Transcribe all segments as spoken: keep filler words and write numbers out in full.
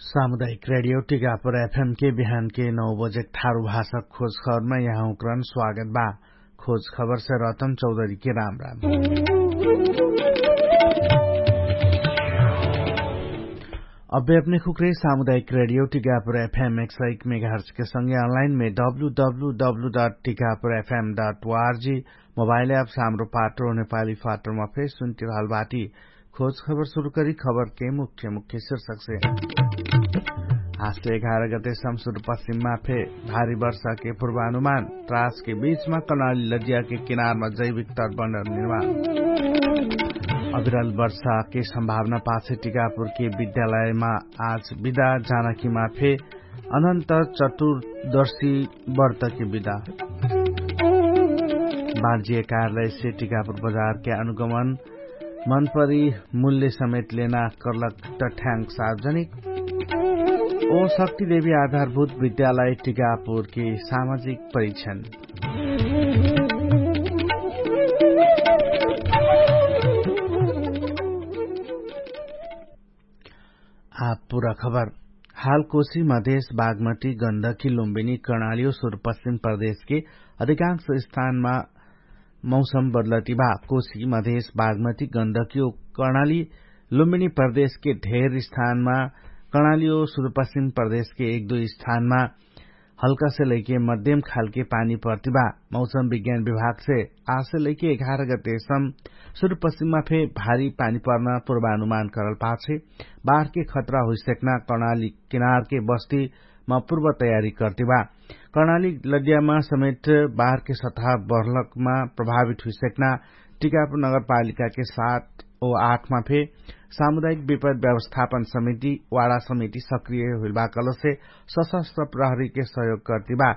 सामुदायिक रेडियो टिकापुर एफएम के बिहान के नौ बजे ठारु भाषा खोज खबरमा यहाँ उक्रन स्वागत बा। खोज खबर से रतन चौधरी के राम राम। अबे अपने खुक्रे सामुदायिक रेडियो टिकापुर एफएम एक सौ एक मेगाहर्च के संगे अनलाइन में W W W dot Tikapur F M dot O R G mobile app सामरो पाटो नेपाली फाटोमा फेर सुन्टिरहल बाटी। खोज खबर सुरु करी खबर के मुख्य मुख्य शीर्षक से। हास्ते एघार गते समसुर पश्चिममा फे भारी वर्षा के पूर्वानुमान। त्रास के बीचमा कनाली लजिया के किनारमा जैविक तटबन्ध निर्माण। अविरल वर्षा के सम्भावना पाछे टिकापुर के विद्यालयमा आज विदा जानकीमा फे अनन्त चतुर्दशी व्रत के विदा। बाँजिए कार्यालय से टिकापुर बजार के अनुगमन मनपरी मूल्य समेत लेना कर्लक तठ्याङ्क सार्वजनिक। ओ शक्ति देवी आधारभूत विद्यालय टिकापुर के सामाजिक परिक्षण। आप पुरा खबर। हाल कोशी मधेश बागमती गन्धकी लुम्बिनी कर्णाली ओ सुरपश्चिम प्रदेशके अधिकांश स्थानमा मौसम बदलति बा। कोशी मधेश बागमती गन्धकी ओ कर्णाली लुम्बिनी प्रदेशके ढेर स्थानमा कर्णाली ओ सुरपश्चिम प्रदेशके एक दुई स्थानमा हल्का से लैके मध्यम खालके पानी पर्ति बा। मौसम विज्ञान विभाग से आसे लैके एघार गते सम सुरपश्चिममा फे भारी पानी पर्ना पूर्वानुमान करल पाछे बाहरके खतरा हुइसक्ना कर्णाली किनारके बस्ती मा पूर्व तयारी कर्ति बा। कर्णाली लद्यामा समेत बाहरके सतहा बर्लकमा प्रभावित हुइसक्ना टिकापुर नगरपालिकाके सात ओ आठमा फे सामुदायिक विपद व्यवस्थापन समिति वाडा समिति सक्रिय हुइल बा कलसे सशस्त्र प्रहरीके सहयोग कर्ति बा।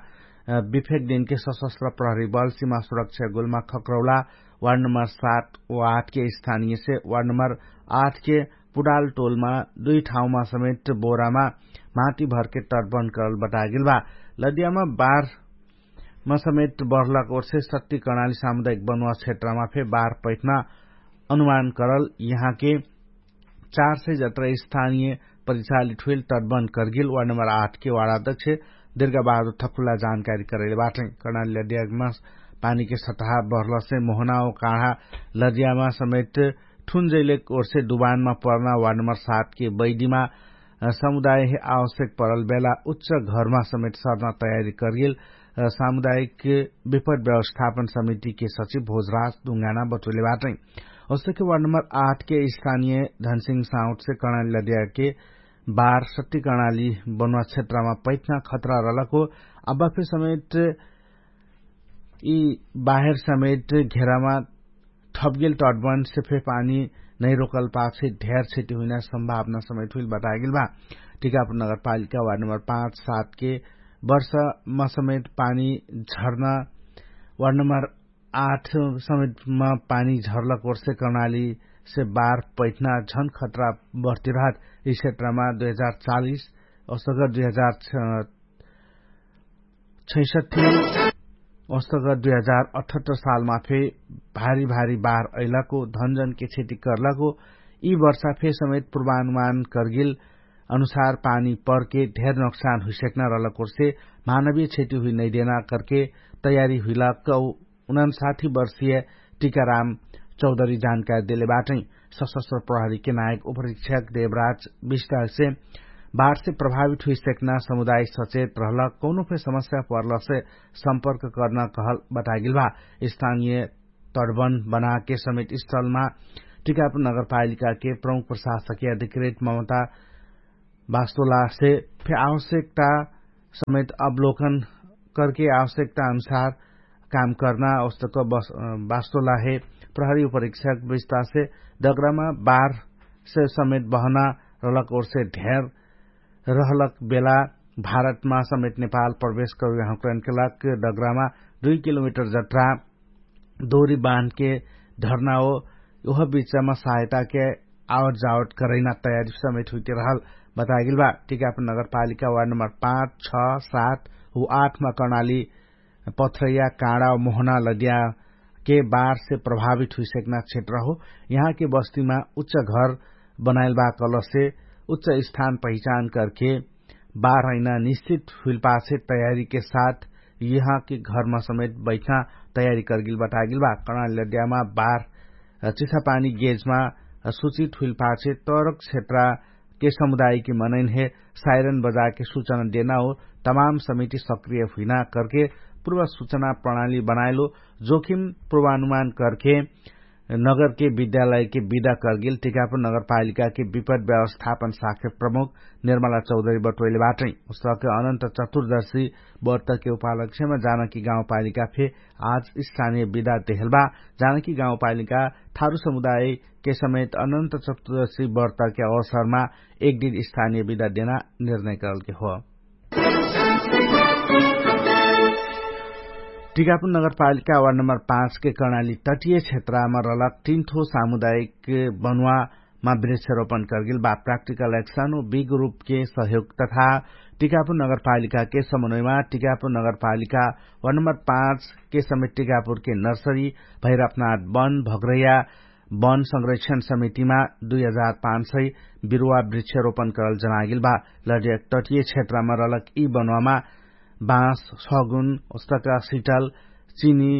विफेक दिनके सशस्त्र प्रहरी बल सिमा सुरक्षा गुल्मा खक्रौला वार्ड नम्बर सात ओ आठके स्थानियसे वार्ड नम्बर आठके पुडाल टोलमा दुई ठाउँमा समेत बोरामा माटी भरके तटबन्ध करल बतागेल बा। लदियामा बार मा समेत बढलक ओर्से शक्ति कर्णाली सामुदायिक बनुवा क्षेत्रमा फे बार पैठना अनुमान करल यहाँके चार सय जत्रा स्थानिय परिचालित हुइल तटबन्ध करगेल वार्ड नम्बर आठके वार्ड अध्यक्ष दिर्गा बहादुर थकुला जानकारी करैले बाटै। कर्णाली लदियामा पानीके सतहा बढलसे मोहना ओ काढा लदियामा समेत ठुन जैलेक ओर्से डुबानमा पर्ना वार्ड नम्बर सातके बैदिमा समुदाय हे आवश्यक परल बेला उच्च घरमा समेत सर्ना तयारी करगेल सामुदायिक विपद व्यवस्थापन समितिके सचिव भोजराज दुङ्गाना बटोले बाटै। ओस्तके वार्ड नम्बर आठके स्थानिय धनसिंह साउटसे कर्णाली लदियाके बार सत्ति कर्णाली बनुवा क्षेत्रमा पैठना खतरा रहलक हो। अब्बा फे समेत यि बाहेर समेत घेरामा ठपगेल तटबन्ध से फे पानी नैरोकल पाछे ढेर क्षति हुइना सम्भावना समेत हुइल बतागेल बा। टिकापुर नगरपालिका वार्ड नम्बर पाँच सातके वर्षमा समेत पानी झर्ना वार्ड नम्बर आठ समेतमा पानी झर्लक ओर्से कर्णाली से बार पैठना झन खतरा बढ्ति रहत यि क्षेत्रमा दुई हजार चालिस औसगर दुई हजार छैसठ्ठी औसगर दुई हजार अठहत्तर सालमा फे भारी भारी बार अइलको धनजनके क्षति करलको यि वर्षा फे समेत पूर्वानुमान करगेल अनुसार पानी परके ढेर नोक्सान हुइसक्ना रहलक ओर्से मानवीय क्षति हुइ नैदेना करके तयारी हुइलक। उनन्साठी वर्षीय टिकाराम चौधरी जानकारी देले बाटै। सशस्त्र प्रहरीके नायक उपरीक्षक देवराज विष्टासे बाढसे प्रभावित हुइसक्ना समुदाय सचेत रहलक कौनो फे समस्या पर्लसे सम्पर्क कर्ना कहल बतागेल बा। स्थानिय तडबन बनाके समेत स्थलमा टिकापुर नगरपालिकाके प्रमुख प्रशासकीय अधिकृत ममता बास्तोलासे फे आवश्यकता समेत अवलोकन करके आवश्यकता अनुसार काम कर्ना औस्तक बास्तोलाहे प्रहरी उपरीक्षक विस्तासे डगरामा बार से समेत बहना रहलक ओर्से ढेर रहलक बेला भारतमा समेत नेपाल प्रवेश करुया हुँकरैनके लाग डगरामा दुई किलोमिटर जत्रा दोरी बान्हके धर्ना हो। उह बिचमा सहायताके आवट जावट करैना तयारी समेत हुइते रहल बतागेल बा। टिकापुर नगरपालिका वार्ड नम्बर पाँच छ सात उ आठमा कर्णाली पथरैया काँडा मोहना लदियाके बारसे प्रभावित हुइसक्ना क्षेत्र हो। यहाँके बस्तीमा उच्च घर बनाइल बा कलसे उच्च स्थान पहिचान करके बार अहिना निश्चित हुइलपाछे तयारीके साथ यहाँके घरमा समेत बैठना तयारी करगिल बटागिल बा। कर्णाली लड्यामा बार चिसापानी गेजमा सुचित हुइलपाछे तरक क्षेत्रा के समुदायके मनैनहे साइरन बजाके सुचना देना हो। तमाम समिति सक्रिय हुइना करके पुर्व सुचना प्रणाली बनाएलो जोखिम पुर्वानुमान करके नगरके विद्यालयके विदा करगेल टिकापुर नगरपालिकाके विपद व्यवस्थापन शाखे प्रमुख निर्मला चौधरी बटोइले बाटै। उसके अनन्त चतुर्दशी बर्तके उपालक्ष्यमा जानकी गाउँपालिका फे आज स्थानीय विदा देहल बा। जानकी गाउँपालिका थारु समुदायके समेत अनन्त चतुर्दशी बर्तके अवसरमा एक दिन स्थानीय विदा देना निर्णय करलके हो। टिकापुर नगरपालिका वार्ड नम्बर पाँचके कर्णाली तटिय क्षेत्रमा रलक तिन्थो सामुदायिक बनुवामा वृक्षरोपण करगेल बा। प्राक्टिकल एक्सन उ बिग रूपके सहयोग तथा टिकापुर नगरपालिकाके समन्वयमा टिकापुर नगरपालिका वार्ड नम्बर पाँचके समेत टिकापुरके नर्सरी भैरपनाथ बन भग्रैया वन संरक्षण समितिमा दुई हजार पाँच सय बिरुवा वृक्षरोपण करल जनागेल बा। लड्याक तटिय क्षेत्रमा रलक यि बनुवामा बाँस सगुन उस्तका सिटल चिनी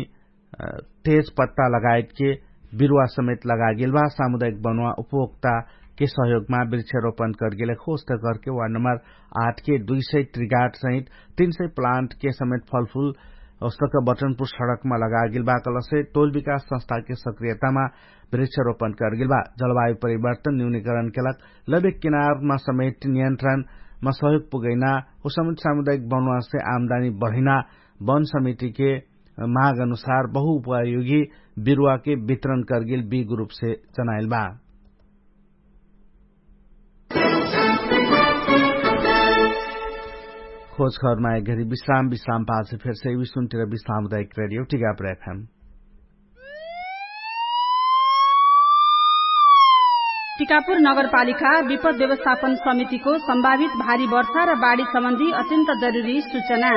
तेज पत्ता लगायतके बिरुवा समेत लगागेल बा। सामुदायिक बनुवा उपभोक्ताके सहयोगमा वृक्षरोपण करगेल खोस्त करके वार्ड नम्बर आठके दुई सय त्रिगाट सहित तीन सय प्लान्टके समेत फलफुल उस्तका बटनपुर सडकमा लगागेल बा। कलसे टोल विकास संस्थाके सक्रियतामा वृक्षरोपण करगेल बा। जलवायु परिवर्तन न्यूनीकरणके लग लबे किनारमा समेत नियन्त्रणमा सहयोग पुगैना उसमेत सामुदायिक बनुवासे आमदानी बढैना वन समितिके माग अनुसार बहुउपयोगी बिरुवाके वितरण करगेल बिग रूपसे जनाइल बा। खोज खबरमा एक घरी विश्राम विश्राम पाछे फेरसे विश्वन्तिर विश्राम उदायक रेडियो टिकापुर एफएम। टिकापुर नगरपालिका विपद व्यवस्थापन समितिको सम्भावित भारी वर्षा र बाढी सम्बन्धी अत्यन्त जरुरी सूचना।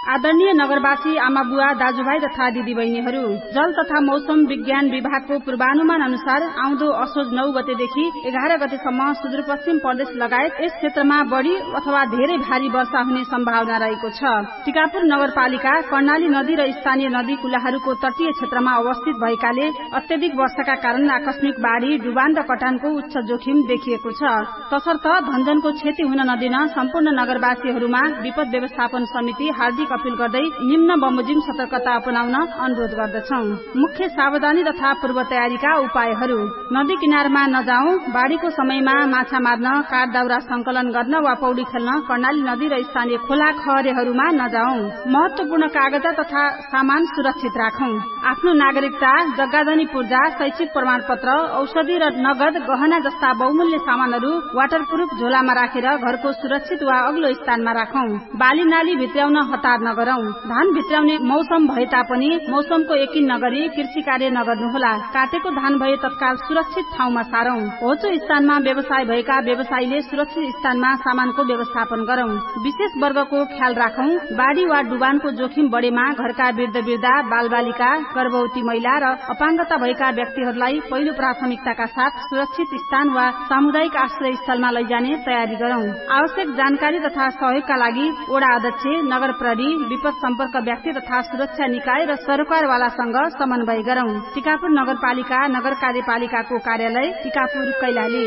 आदरणीय नगरवासी आमाबुवा दाजुभाइ तथा दिदीबहिनीहरू, जल तथा मौसम विज्ञान विभागको पूर्वानुमान अनुसार आउँदो असोज नौ गतेदेखि एघार गतेसम्म सुदूरपश्चिम प्रदेश लगायत यस क्षेत्रमा बढी अथवा धेरै भारी वर्षा हुने सम्भावना रहेको छ। टिकापुर नगरपालिका कर्णाली नदी र स्थानीय नदी कुलाहरूको तटीय क्षेत्रमा अवस्थित भएकाले अत्यधिक वर्षाका कारण आकस्मिक बाढी डुबान र कटानको उच्च जोखिम देखिएको छ। तसर्थ धनजनको क्षति हुन नदिन सम्पूर्ण नगरवासीहरूमा विपद व्यवस्थापन समिति हार्दिक अपिल गर्दै निम्न बमोजिम सतर्कता अपनाउन अनुरोध गर्दछौं। मुख्य सावधानी तथा पूर्व तयारीका उपायहरू। नदी किनारमा नजाउँ। बाढीको समयमा माछा मार्न, काठ दाउरा संकलन गर्न वा पौडी खेल्न कर्णाली नदी र स्थानीय खोला खहरेहरूमा नजाउँ। महत्वपूर्ण कागजा तथा सामान सुरक्षित राखौं। आफ्नो नागरिकता, जग्गाधनी पूर्जा, शैक्षिक प्रमाणपत्र, औषधि र नगद गहना जस्ता बहुमूल्य सामानहरू वाटरप्रुफ झोलामा राखेर घरको सुरक्षित वा अग्लो स्थानमा राखौं। बाली नाली भित्र्याउन हतार नगरौं। धान भित्र्याउने मौसम भए तापनि मौसमको यकिन नगरी कृषि कार्य नगर्नुहोला। काटेको धान भए तत्काल सुरक्षित ठाउँमा सारौं। होचो स्थानमा व्यवसाय भएका व्यवसायीले सुरक्षित स्थानमा सामानको व्यवस्थापन गरौं। विशेष वर्गको ख्याल राखौं। बाढी वा डुबानको जोखिम बढेमा घरका वृद्ध वृद्धा, बालबालिका, गर्भवती महिला र अपाङ्गता भएका व्यक्तिहरूलाई पहिलो प्राथमिकताका साथ सुरक्षित स्थान वा सामुदायिक आश्रय स्थलमा लैजाने तयारी गरौं। आवश्यक जानकारी तथा सहयोगका लागि वडा अध्यक्ष, नगर प्रहरी, विपद सम्पर्क व्यक्ति तथा सुरक्षा निकाय र सरकारवालासँग समन्वय गरौं। टिकापुर नगरपालिका नगर कार्यपालिकाको कार्यालय टिकापुर कैलाली।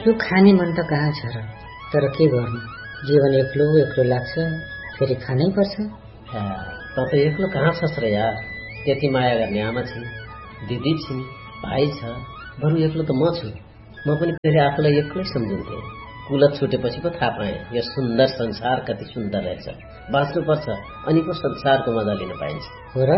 यो खाने मन त कहाँ छ र? तर के गर्नु, जीवन एक्लो एक्लो लाग्छ। फेरि खानै पर्छ। त त एक्लो कहाँ छस् र यार? यति माया गर्ने आमा छिन्, दिदी छिन्, भाइ छ। बरु एक्लो त म छु। म पनि फेरि आफूलाई एक्लै सम्झिन्थे। कुलत छुटेपछि पो थाहा पाएँ यो सुन्दर संसार कति सुन्दर रहेछ। बाँच्नुपर्छ, अनि पो संसारको मजा लिन पाइन्छ। हो र?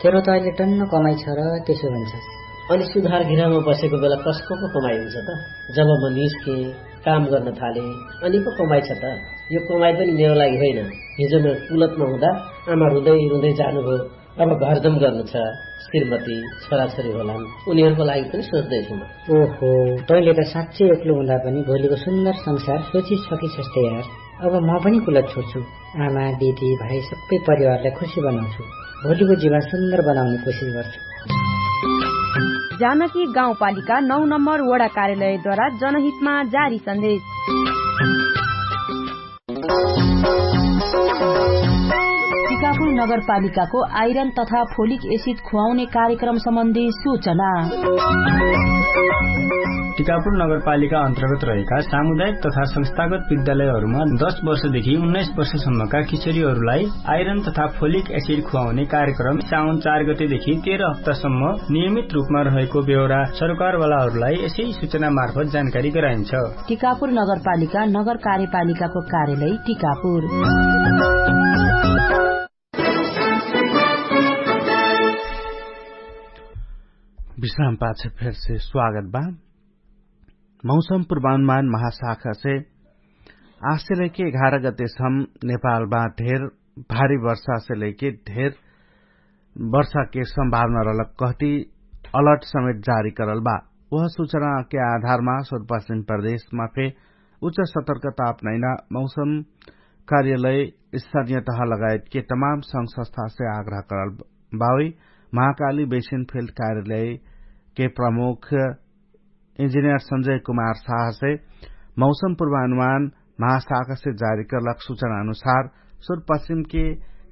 तेरो त अहिले टन्न कमाइ छ र त्यसो भन्छस्। अनि सुधार गृहमा बसेको बेला कसको पो कमाइ हुन्छ त? जब म निस्केँ, काम गर्न थालेँ, अनि पो कमाइ छ त। यो कमाइ पनि मेरो लागि होइन। हिजो म कुलतमा हुँदा आमा रुँदै रुँदै जानुभयो। अब घरजम गर्नु छ, श्रीमती, छोराछोरी होलान्, उनीहरूको लागि पनि सोच्दैछु म। ओहो, तैँले त साँच्चै एक्लो हुँदा पनि भोलिको सुन्दर संसार सोचिसकिसक्छस् त यार। अब म पनि कुलत छोड्छु। आमा, दिदी, भाइ सबै परिवारलाई खुसी बनाउँछु। भोलिको जीवन सुन्दर बनाउने कोसिस गर्छु। जानकी गाउँपालिका नौ नम्बर वडा कार्यालयद्वारा जनहितमा जारी सन्देश। टिकापुर नगरपालिकाको आइरन तथा फोलिक एसिड खुवाउने कार्यक्रम सम्बन्धी सूचना। टिकापुर नगरपालिका अन्तर्गत रहेका सामुदायिक तथा संस्थागत विद्यालयहरूमा दस वर्षदेखि उन्नाइस वर्षसम्मका किशोरीहरूलाई आइरन तथा फोलिक एसिड खुवाउने कार्यक्रम साउन चार गतेदेखि तेह्र हप्तासम्म नियमित रूपमा रहेको बेहोरा सरकारवालाहरूलाई यसै सूचना मार्फत जानकारी गराइन्छ। टिकापुर नगरपालिका नगर कार्यपालिकाको कार्यालय टिकापुर। विश्राम पाछ फेरसे स्वागत बा। मौसम पूर्वानुमान महाशाखा से आसे लैके एघार गते सम नेपालमा ढेर भारी वर्षा से लैके ढेर वर्षा के सम्भावना रहलक कहती अलर्ट समेत जारी करल बा। वह सूचना के आधारमा सुरपश्चिम प्रदेशमा फे उच्च सतर्कता अपनैना मौसम कार्यालय स्थानीय तह लगायत के तमाम संघ संस्था से आग्रह करल बावै महाकाली बेसिन फिल्ड कार्यालय के प्रमुख इन्जिनियर संजय कुमार साहसे मौसम पूर्वानुमान महाशाखसे जारी करलक सूचना अनुसार सुरपश्चिम के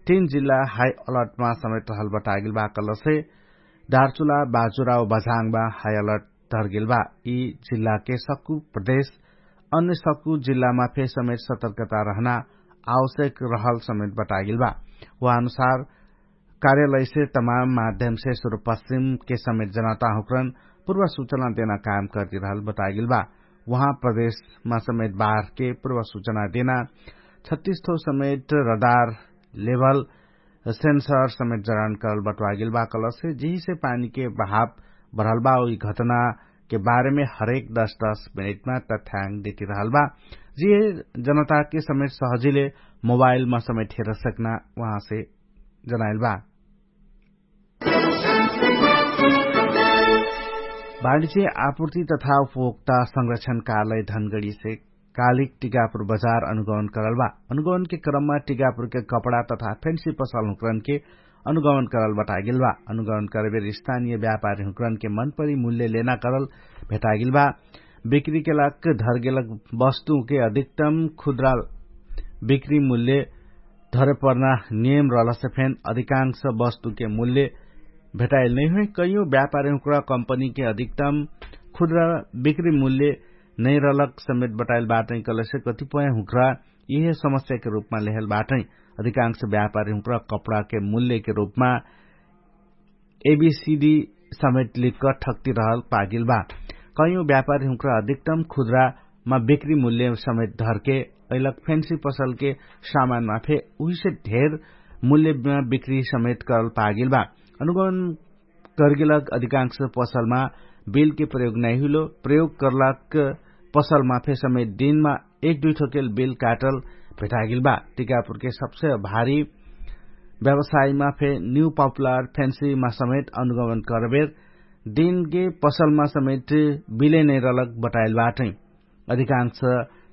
तीन जिल्ला हाई अलर्टमा समेत रहल बतागिल बा कलसे डारचुला बाजुरा व बझाङमा हाई अलर्ट धरगेल बा। यी जिल्लाके सक्कु प्रदेश अन्य सक्कु जिल्लामा फे समेत सतर्कता रहना आवश्यक रहल समेत बतागेल बा। उहाँ अनुसार कार्यालयसे तमाम माध्यमसे सुरपश्चिमके समेत जनता हुक्रन पूर्व सूचना देना काम करती रहल बतागेल बा। उहाँ प्रदेशमा समेत बाहरके पूर्व सूचना देना छत्तीस ठो समेत रडार लेभल सेन्सर समेत जडान करल बटवागेल बा कलसे जिहिसे पानीके बहाव भरल बा उही घटनाके बारेमे हरेक दस दस मिनेटमा तथ्याङ देती रहल बा। जिहे जनताके समेत सहजिले मोबाइलमा समेत हेर सकना उहाँसे जनाइल बा। वाणिज्य आपूर्ति तथा उपभोक्ता संरक्षण कार्यालय धनगढीसे कालिक टिकापुर बजार अनुगमन करल बा। अनुगमनके क्रममा टिकापुरके कपडा तथा फेन्सी पसल हुँकरनके अनुगमन करल बटागेल बा। अनुगमन करबेर स्थानीय व्यापारी हुँकरनके मनपरी मूल्य लेना करल भेटागेल बा। बिक्रीके लाग धरगेलक वस्तुके अधिकतम खुद्रा बिक्री मूल्य धरे पर्ना नियम रहलसे फेन अधिकांश वस्तुके मूल्य भेटाइल नैहुइ। कैयो व्यापारी हुँकरा कम्पनीके अधिकतम खुद्रा बिक्री मूल्य नैरलक समेत बटाइल बाटै कलसे कतिपय हुँकरा यिहे समस्याके रूपमा लेहल बाटै। अधिकांश व्यापारी हुँकरा कपडाके मूल्यके रूपमा एबीसीडी समेत लिक्क ठक्ति रहल पागिल बा। कैयो व्यापारी हुँकरा अधिकतम खुद्रामा बिक्री मूल्य समेत धरके अइलक फेन्सी पसलके सामानमा फे उहिसे ढेर मूल्यमा बिक्री समेत करल पागिल बा। अनुगमन करगेलक अधिकांश पसलमा बिलके प्रयोग नैहुइलो प्रयोग करलक पसलमा फे समेत दिनमा एक दुइ ठोकेल बिल काटल भेटागिल बा। टिकापुरके सबसे भारी व्यवसायमा फे न्यू पपुलर फेन्सीमा समेत अनुगमन करबेर दिनके पसलमा समेत बिले नैरलक बटाइल बाटै। अधिकांश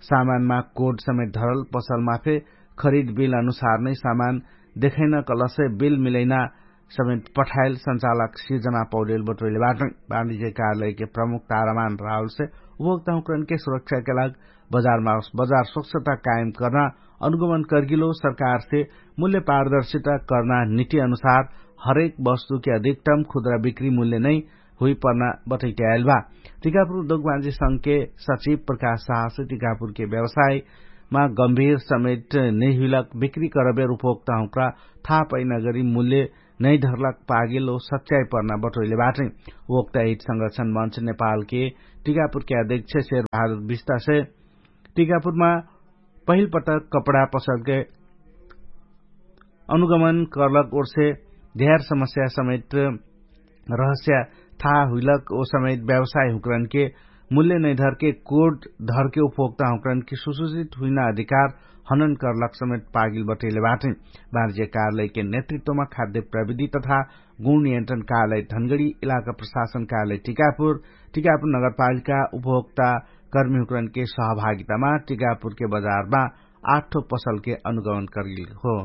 सामानमा कोड समेत धरल पसलमा फे खरिद बिल अनुसार नै सामान देखैना कलसे बिल मिलैना समेत पठाइल संचालक सिर्जना पौडेल बटोइले बाटै। वाणिज्य कार्यालयके प्रमुख तारामान राहुलसे उपभोक्ता हुँकरनके सुरक्षाके लाग बजारमा बजार स्वच्छता कायम कर्ना अनुगमन कर्गिलो सरकारसे मूल्य पारदर्शिता कर्ना निति अनुसार हरेक वस्तुके अधिकतम खुद्रा बिक्री मूल्य नै हुइपर्ना बटैट्याएल बा। टिकापुर उद्योगवाजी संघके सचिव प्रकाश साहसे टिकापुरके व्यवसायमा गम्भीर समेट नैहुइलक बिक्री करबेर उपभोक्ता हुँक्रा थाहा पैना गरी मूल्य नैधरलक पागेल ओ सच्याइ पर्ना बटोइले बाटै। उपभोक्ता हित संरक्षण मञ्च नेपालके टिकापुरके अध्यक्ष शेर बहादुर विस्तासे टिकापुरमा पहिल पटक कपडा पसलके अनुगमन कर्लक ओर्से ध्यार समस्या समेट रहस्या थाहा हुइलक ओ समेट व्यवसाय हुँकरनके मूल्य नैधरके कोड धरके उपभोक्ता हुँकरनके सुसूचित हुइना अधिकार हनन कर्लक समेट पागिल बटैले बाटै। बाणिज्य कार्यालयके नेतृत्वमा खाद्य प्रविधि तथा गुण नियन्त्रण कार्यालय धनगडी इलाका प्रशासन कार्यालय टिकापुर टिकापुर नगरपालिका उपभोक्ता कर्मी हुँकरनके सहभागितामा टिकापुरके बजारमा आठ ठो पसलके अनुगमन कर्गिल हो।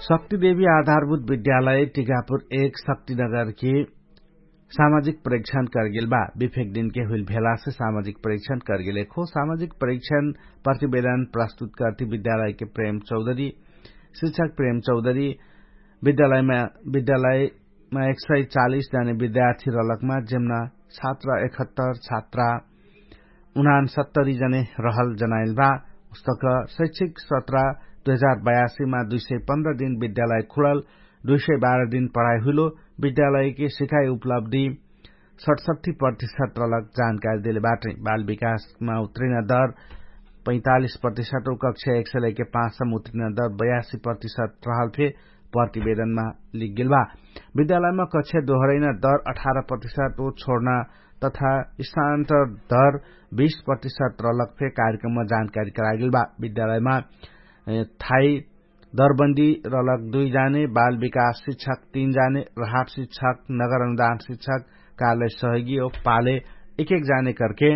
शक्तिदेवी आधारभूत विद्यालय टिकापुर एक शक्तिनगरके सामाजिक परीक्षण करगेल बा। विफेक दिनके हुइल भेलासे सामाजिक परीक्षण करगेल एक हो सामाजिक परीक्षण प्रतिवेदन प्रस्तुत करती विद्यालयके प्रेम चौधरी शिक्षक प्रेम चौधरी विद्यालयमा विद्यालयमा एक सय चालिस जाने विद्यार्थी रलकमा जेमना छात्रा एकहत्तर छात्रा उनान सत्तरी जने रहल जनाइल बा। उस्तक शैक्षिक सत्र दुई हजार बयासी मा दुई सय पन्ध्र दिन विद्यालय खुलल दुई सय बाह्र दिन पढाइ हुइलो विद्यालयके सिकाइ उपलब्धि सठसट्ठी प्रतिशत रलक जानकारी देले बाटै। बाल विकासमा उत्रिन दर पैतालिस प्रतिशत उ कक्षा एक सय लैके पाँच सम उत्रिन दर बयासी प्रतिशत रहल फे प्रतिवेदनमा लिगेल बा। विद्यालयमा कक्षा दोहरैना दर अठार प्रतिशत उ छोड्ना तथा स्थानान्तर दर बीस प्रतिशत रलक फे कार्यक्रममा जानकारी करागेल बा। विद्यालयमा थाई दरबन्दी रलक दुई जाने बाल विकास शिक्षक तीन जाने राहट शिक्षक नगर अनुदान शिक्षक कार्यालय सहयोगी ओ पाले एक एक जाने करके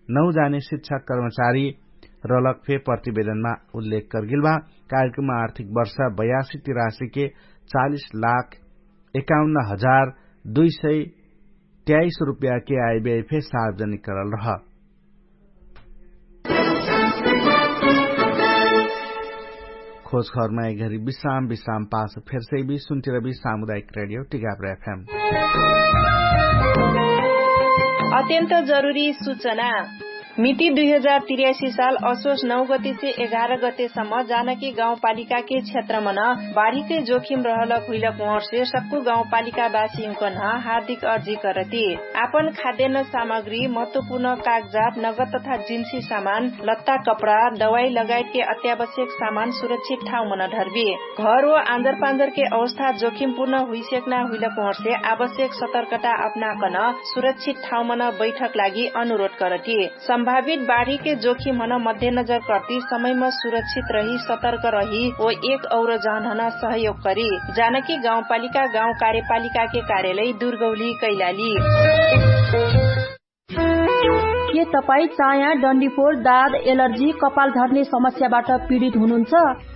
नौ जाने शिक्षक कर्मचारी रलक फे प्रतिवेदनमा उल्लेख करगेल बा। कार्यक्रममा आर्थिक वर्ष बयासी तिरासी के चालिस लाख एकाउन्न हजार दुई सय त्याइस रुपैयाके आइबे फे सार्वजनिक करल रह। खोज खबरमा एघरी विश्राम विश्राम पास फेरसैबी सुन्तिरबी सामुदायिक रेडियो टिकापुर एफएम। अत्यन्त जरुरी सुचना। मिति दुई हजार तिर्यासी साल असोस नौ गतेसे एघार गतेसम्म जानकी गाउँपालिकाके क्षेत्रमन बाढीकै जोखिम रहलक हुइलक उहर्से सक्कु गाउँपालिकावासीहुँकन हार्दिक अर्जी करती। आपन खाद्यान्न सामग्री महत्वपूर्ण कागजात नगद तथा जिन्सी सामान लत्ता कपडा दवाई लगायतके अत्यावश्यक सामान सुरक्षित ठाउँमन ढर्बी। घर व आन्जरपान्जरके अवस्था जोखिमपूर्ण हुइसेक्ना हुइलक उहर्से आवश्यक सतर्कता अपनाकन सुरक्षित ठाउँमन बैठक लागि अनुरोध करती। सम्भावित बाढीके जोखिमहन मध्यनजर कर्ती समयम सुरक्षित रही सतर्क रही ओ एक और जहनहन सहयोग करी। जानकी गाउँपालिका गाउँ कार्यपालिकाके कार्यालय दुर्गौली कैलाली। के तपाईँ चाया डन्डीफोर दाद एलर्जी कपाल झर्ने समस्याबाट पीडित हुनुहुन्छ?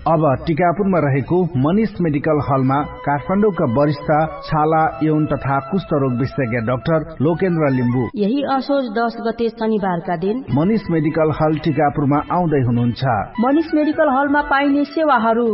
अब टिकापुरमा रहेको मनिष मेडिकल हलमा काठमाडौँका वरिष्ठ छाला यौन तथा कुष्ठरोग विशेषज्ञ डाक्टर लोकेन्द्र लिम्बू यही असोज दश गते शनिबारका दिन मनिष मेडिकल हल टिकापुरमा आउँदै हुनुहुन्छ। मनिष मेडिकल हलमा पाइने सेवाहरू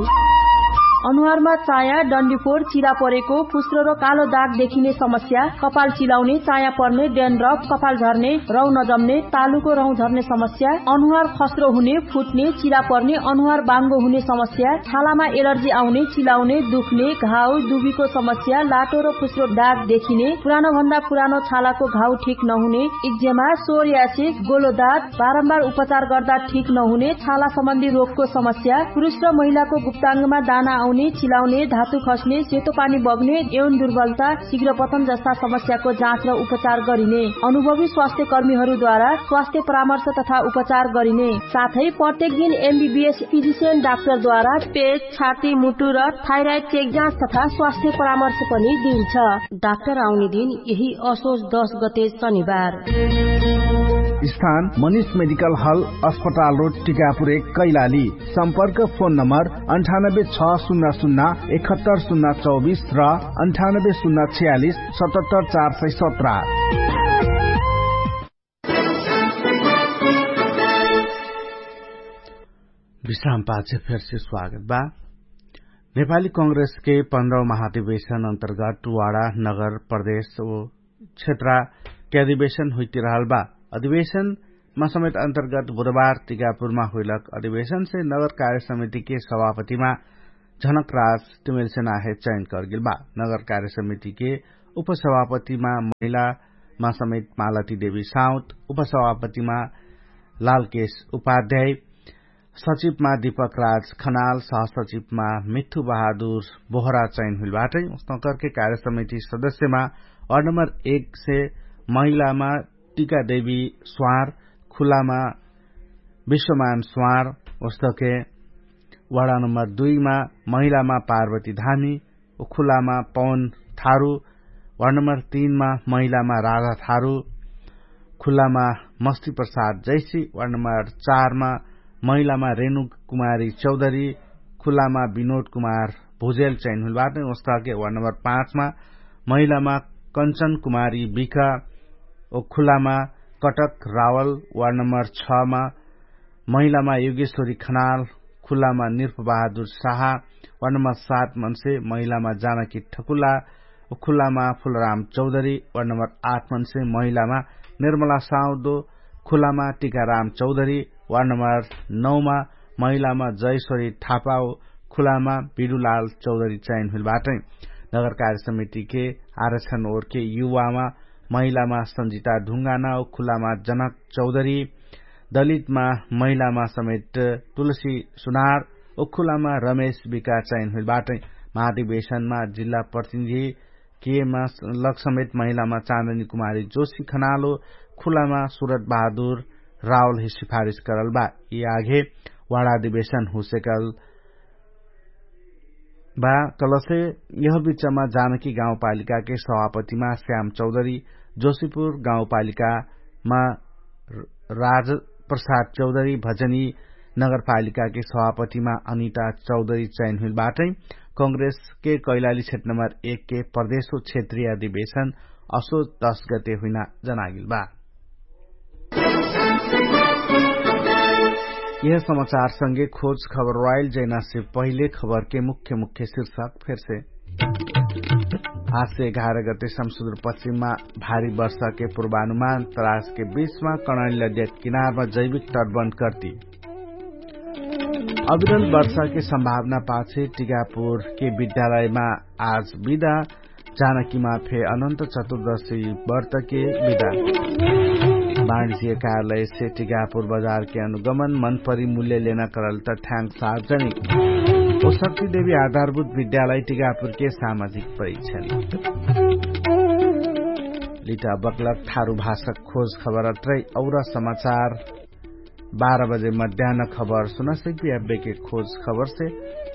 अनुहारमा चाया डन्डीफोर चिरा परेको फुस्रो र कालो दाग देखिने समस्या, कपाल चिलाउने चाया पर्ने डेन्ड्रप कपाल झर्ने रौ नजम्ने तालुको रौ झर्ने समस्या, अनुहार खस्रो हुने फुट्ने चिरा पर्ने अनुहार बाङ्गो हुने समस्या, छालामा एलर्जी आउने चिलाउने दुख्ने घाउ दुबीको समस्या लाटो र फुस्रो दाग देखिने पुरानो भन्दा पुरानो छालाको घाउ ठिक नहुने इक्जेमा सोरियासिस गोलोदात बारम्बार उपचार गर्दा ठिक नहुने छाला सम्बन्धी रोगको समस्या पुरुष र महिलाको गुप्ताङ्गमा दाना आउने चिलाउने धातु खस्ने सेतो पानी बग्ने यौन दुर्बलता शीघ्र पतन जस्ता समस्याको जाँच र उपचार गरिने अनुभवी स्वास्थ्य कर्मीहरूद्वारा स्वास्थ्य परामर्श तथा उपचार गरिने साथै प्रत्येक दिन एमबीबीएस फिजिसियन डाक्टरद्वारा पेट छाती मुटु र थाइराइड चेक जाँच तथा स्वास्थ्य परामर्श पनि दिइन्छ। डाक्टर आउने दिन यही असोज दश गते शनिबार। स्थान मनिष मेडिकल हल अस्पताल रोड टिकापुर एक कैलाली। सम्पर्क फोन नम्बर अन्ठानब्बे छ शून्य शून्य एकहत्तर शून्य चौबिस र अन्ठानब्बे शून्य छयालिस सतहत्तर चार सय सत्र। विश्राम पाछे फेरसे स्वागत बा। नेपाली कांग्रेसके पन्ध्रौ महाधिवेशन अन्तर्गत वाडा नगर प्रदेश ओ क्षेत्रके अधिवेशन हुइतिरहल बा। अधिवेशनमा समेत अन्तर्गत बुधबार टिकापुरमा हुइलक अधिवेशनसे नगर कार्य समितिके सभापतिमा झनकराज तिमेलसेनाहे चयन करगेल बा। नगर कार्य समितिके उपसभापतिमा महिलामा समेत मालती देवी साउत, उपसभापतिमा लालकेश उपाध्याय, सचिवमा दीपकराज खनाल, सहसचिवमा मिठ्ठु बहादुर बोहरा चयन हुइल बाटै। उस्तौँ करके कार्य समिति सदस्यमा वार्ड नम्बर एक से महिलामा टिका देवी स्वार, खुलामा विश्वमान स्वार, उस्तके वार्ड नम्बर दुईमा महिलामा पार्वती धामी, खुलामा पवन थारु, वार्ड नम्बर तीनमा महिलामा राधा थारु, खुलामा मस्ती प्रसाद जैसी, वार्ड नम्बर चारमा महिलामा रेणु कुमारी चौधरी, खुलामा विनोद कुमार भुजेल चैन हुइल बाटै। ओस्तहके वार्ड नम्बर पाँचमा महिलामा कन्चन कुमारी बिख ओ खुलामा कटक रावल, वार्ड नम्बर छमा महिलामा युगेश्वरी खनाल, खुलामा निर्पबहादुर साहा, वार्ड नम्बर सात मनसे महिलामा जानकी ठकुला, खुलामा फुलराम चौधरी, वार्ड नम्बर आठ मनसे महिलामा निर्मला साउदो, खुलामा टिकाराम चौधरी, वार्ड नम्बर नौमा महिलामा जयश्वरी थापाओ, खुलामा बिडुलाल चौधरी चयन हुइल बाटै। नगरकार्य समितिके आरक्षण ओरके युवामा महिलामा सन्जिता ढुङ्गाना ओ खुलामा जनक चौधरी, दलितमा महिलामा समेत तुलसी सुनार ओ खुलामा रमेश बिका चयन हुइल बाटै। महाधिवेशनमा जिल्ला प्रतिनिधि केमा लग समेत महिलामा चाँदनी कुमारी जोशी खनालो खुलामा सुरत बहादुर रावलही सिफारिस करल बा। यि आघे वाडाधिवेशन हुसेकल बा। कलसे यह बिचमा जानकी गाउँपालिकाके सभापतिमा श्याम चौधरी, जोशीपुर गाउँपालिकामा राजप्रसाद चौधरी, भजनी नगरपालिकाके सभापतिमा अनिता चौधरी चयन हुइल बाटै। कंग्रेसके कैलाली क्षेत्र नम्बर एकके प्रदेशो क्षेत्रीय अधिवेशन असो दस गते हुइना जनागिल बा। यह समाचारसँगे खोज खबर वाइल जैनासे पहिले खबरके मुख्य मुख्य शीर्षक फेरसे। आजसे एघार गते समसुद्र पश्चिममा भारी वर्षाके पूर्वानुमान। तरासके बीचमा कणैल नद्याक किनारमा जैविक तटबन्द कर्ति। अविरल वर्षाके सम्भावना पाछे टिकापुरके विद्यालयमा आज बिदा। जानकीमा फे अनन्त चतुर्दशी व्रतके बिदा। बाणिज्य कार्यालयसे टिकापुर बजारके अनुगमन मनपरी मूल्य लेना करल त ठ्याङ्क सार्वजनिक। ओ शक्तिदेवी आधारभूत विद्यालय टिकापुरके सामाजिक परीक्षण। लिटा बक्लक थारु भाषक खोज खबर अत्रै। और समाचार बाह्र बजे मध्यान खबर सुनसैक बियाबेके खोज खबरसे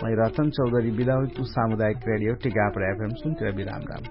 मै रतन चौधरी बिदा हुइकु। सामुदायिक रेडियो टिकापुर एफएम सुन्तिरा बिराम राम।